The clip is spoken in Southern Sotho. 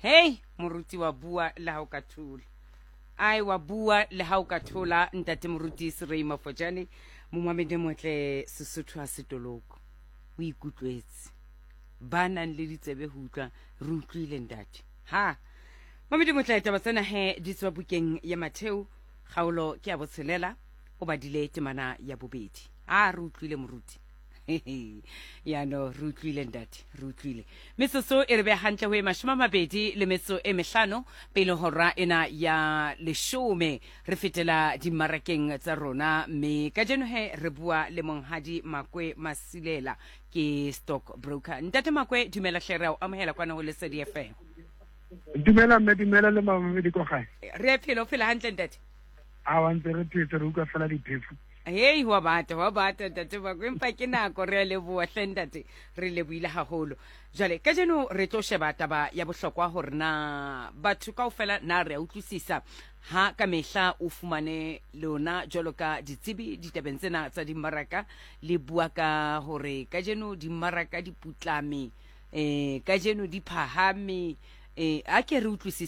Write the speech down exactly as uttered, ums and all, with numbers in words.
Hei moruti, wa bua le ha o ka thola. Ai, wa bua le ha o ka thola, ntate moruti Serei Mafojane. Momamedi motle, Sesotho ha setoloko, o ikutlwetse. Ba nang le ditsebe ho utlwa, re utlwile, ntate. Ha mamedi motle, taba tsena he di tswa bukeng ya Matheo, kgaolo ke ya botshelela, o badile temana ya bobedi. A re utlwile, moruti. Yano re utlwile, ntate, re utlwile. Metsotso e re be hantle ho e mashome a mabedi le metso e mehlano pele hora ena ya leshome. Re fetela dimmarakeng tsa rona, mme kajeno he re bua le monghadi Makwe Masilela, ke stock broker. Ntate Makwe, dumela hle, re a o amohela kwana ho Lesedi F M. Dumela mme, dumela le mamamedi ko gae. Re a phela, o phela hantle, ntate? A wa, ntse re phetse, re utlwa fela diphefo. Hei, wa bata, wa bata, ntate Makwe, empa ke nako. Re a leboa hle, ntate, re leboile haholo. Jwale kajeno re tlo sheba taba ya bohlokwa hore na batho kaofela na re a utlwisisa ha ka mehla o fumane lona jwalo ka ditsebi ditabeng tsena tsa dimmaraka le bua ka hore kajeno dimmaraka di putlame, eh kajeno di phahame. eh a ke re utlwisise.